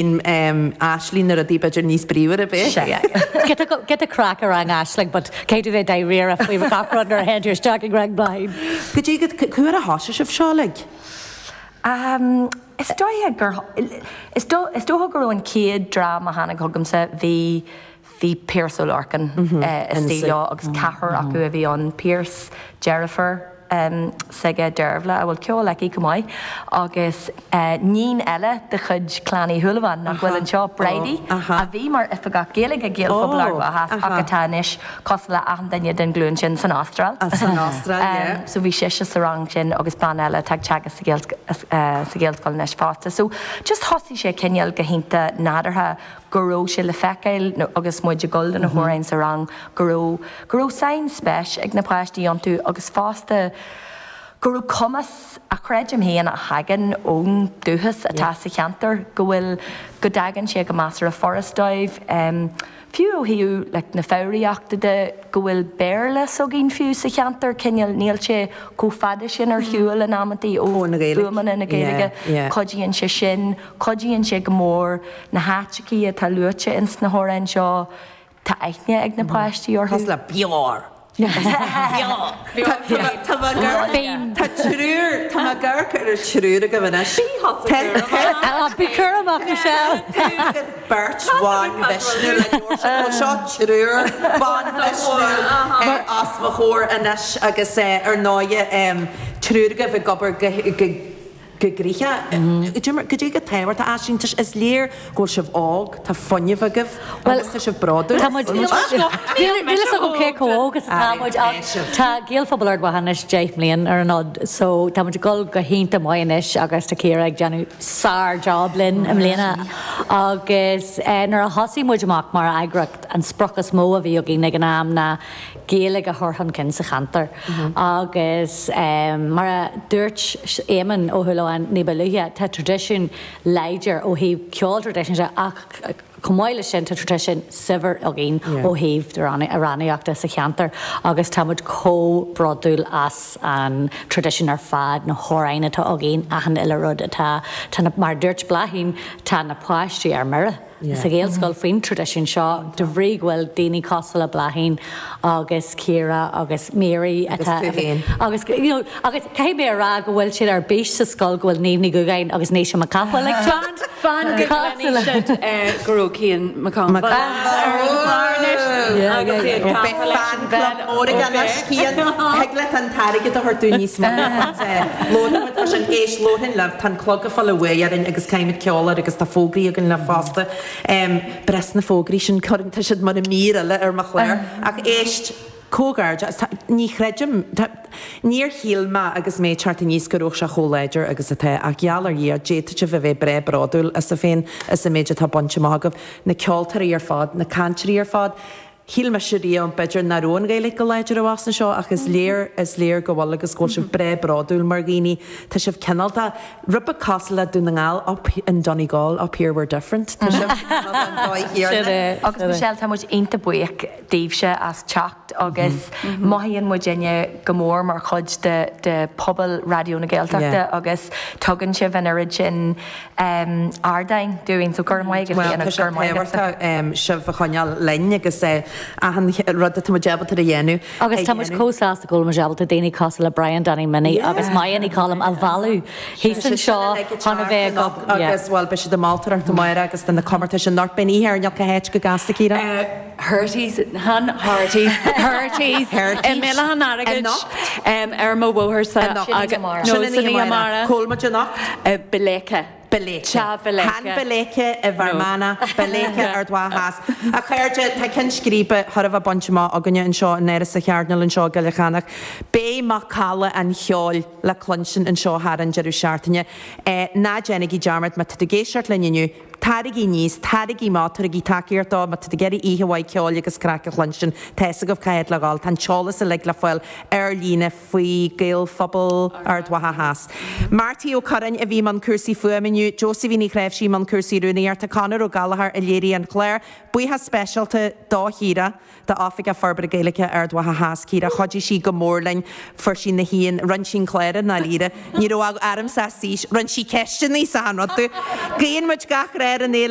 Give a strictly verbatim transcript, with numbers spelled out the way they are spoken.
Aisling na rudaí b'fhéidir níos bríomhaire b'é. Get a craic ar rang Aisling, but cé tú bheith dáiríre faoi gach rud nuair a théann tú isteach ag rang Bláithín. Go dtí go cuair a thosaigh sibh seo like? Um, is dóiche gur is dócha go raibh an chéad dream a tháinig chugamsa bhí bhí Pearse Ó Lorcáin istigh leo agus ceathrar acu a bhí ann Pearse, deirfiúr um, s'aige Dearbhla a bhfuil ceol aici chomh maith agus uh, níon eile de chuid Clann Uí Shúilleabháin nach bhfuil anseo Bridie a bhí mar oifigeach Gaeilge Gaelphobal Ard Mhacha ach atá anois cosúil le achan duine den ghlúin sin san Astráil. San Astráil, yeah. Um, so bhí sise sa rang sin agus bean eile atá ag teagasc sa Ghaelscoil anois fosta. So just thosaigh sé cineál go hiontach nádúrtha go raibh sé le feiceáil agus muid ag dul do na hamhráin sa rang go raibh go raibh sainspéis ag na páistí iontu agus fosta go raibh cumas a chreidim féin a thagann ón dúchas atá sa cheantar go bhfuil go dtagann sé go measartha furast dóibh. Um, fiú ó thaobh like, na foghraíochta de go bhfuil Béarla s'againn fiú sa cheantar cineál níl sé chomh fada sin ar shiúl in amantaí ó fuaimeanna na Gaeilge cuidíonn sé sin, cuidíonn sé go mór na háiteacha atá luaite ins na hamhráin seo tá aithne ag na páistí orthu. Cosúil le Bior. Tá triúr Tá ag amharc ar triúr agaibh anois. Bí cúramach Michelle. Beirt bhan mhisniúil seo triúr ban mhisniúil os mo chomhair anois agus ar ndóigh triúr agaibh ag obair go go gnoitheach. Go dtí go tábhachtach Aisling is léir go bhfuil sibh óg, tá fuinneamh agaibh agus tá sibh bródúil. Níl a fhios agam cé chomh óg is atá muid ach tá Gaelphobal Ard Mhacha anois deich mbliain ar an fhód, so tá muid ag dul go hiontach maith anois agus tá Ciara ag déanamh sár-job linn i mbliana agus nuair a thosaigh muid amach mar eagraíocht an sprioc is mó a bhí againn ag an am ná Gaeilge a chur chun cinn sa cheantar agus mar a dúirt Éamonn Ó hÚlláin ní ba luaithe tá traidisiún láidir ó thaobh ceol traidisiúnta ach chomh maith leis sin tá traidisiún saibhir againn ó thaobh amhránaíochta sa cheantar agus tá muid chomh bródúil as an traidisiún ar fad na hamhráin atá againn achan uile rud atá tá mar dúirt Bláithín tá na páistí ar mire. Sa Ghaelscoil faoin traidisiún seo de bhrí go bhfuil daoine cosúil le Bláithín agus Ciara agus Mary atá agus you know, agus caithfidh mé a rá go bhfuil siad ar bís sa scoil go bhfuil Niamh Ní Dhúgáin agus Naoise Mac Cathmhaoil ag teacht. Fan go gcluinfidh go raibh Cian Mac Con agus iad Beidh fan club mór ag anois Cian thig leat an t-airgead a thabhairt dúinn níos mó Labhróimid sin éist labharfainn libh tá an clog ag fáil a bhuaidh orainn agus caithfimid ceol air agus tá fógraí againn le fosta. Um, breis na fógraí sin cuireann tá siad mar a mír eile ar mo chlár ach éist comhghairdeas ní chreidim níor shíl mé agus mé teacht aníos go raibh sé chomh láidir agus atá ach gheall ar Dhia d'fhéadfadh sibh a bheith breá bródúil asaibh féin is an méid atá bainte amach agaibh na ceoltóirí ar fad na cainteoirí ar fad Shíl mise riamh b'fhéidir nach raibh an Ghaeilge go láidir abhus anseo ach is léir is léir go bhfuil agus go bhfuil sibh breá bródúil mar dhaoine Tá sibh cineálta rud beag cosúil le Dún na nGall up in Donegal up here we're different Tá sibh an dóigh chéanna. Agus Michelle tá muid iontach buíoch daoibhse as teacht agus mothaíonn muidinne go mór mar chuid de de pobal Raidió na Gaeltachta agus tugann sibh an oiread sin um, ardáin dúinn so go raibh maith Well, agaibh tá sé go raibh maith agatsa. tábhachtach sibh a choinneáil linn agus achan rud atá muid ábalta a dhéanamh. Agus tá muid chomh sásta go bhfuil muid ábalta daoine cosúil le Brian Danny Minnie agus Maya Ní Colm a mhealladh thíos anseo chun a bheith ag agus well beidh siad ag moltóireacht amárach agus do na comórtais anocht beidh oíche ar cá háit go gasta Ciara. Herties han Herties Herties i Mbéal an Airgid ar mo bhótharsa Anocht. Sin an oíche amárach. Cá bhfuil muid anocht? Balaka. Balaka. Cha Balaka. Han Balaka i bhFear Manach, Balaka Ard Mhacha Theas. A chairde tá ceann scríbe thar a bheith bainte amach againne anseo in Áras an Chairdinéil anseo i gCoill Chanach. Beidh macalla an cheoil le cluinstin anseo thar an deireadh seachtaine. Ná déanaigí dearmad má tá tú ag éisteacht linn inniu, Taraigí aníos, taraigí amach, tabhairigí tacaíocht dó, má tá tú ag iarraidh oíche mhaith ceoil agus craic a chluinstin, tá fhios agaibh cá háit le dhul, tá an t-eolas uilig le fáil ar líne faoi Gaelphobal Ard Mhacha Theas. Marty Ó Curráin a bhí i mbun cúrsaí fuaime inniu, Josephine Ní Chréimhsí i mbun cúrsaí rúnaíochta, Conor Ó Gallchóir a léirigh an clár, buíochas speisialta do Chiara, d'Oifigeach Forbartha Gaeilge Ard Mhacha Theas, Ciara, chuidigh sí go mór linn, fuair sí na haon, rinne sí an clár i ndáiríre, ní raibh aramsa saois, rinne sí ceisteanna sa rud. Guíonn muid gach rath ar an fhéile.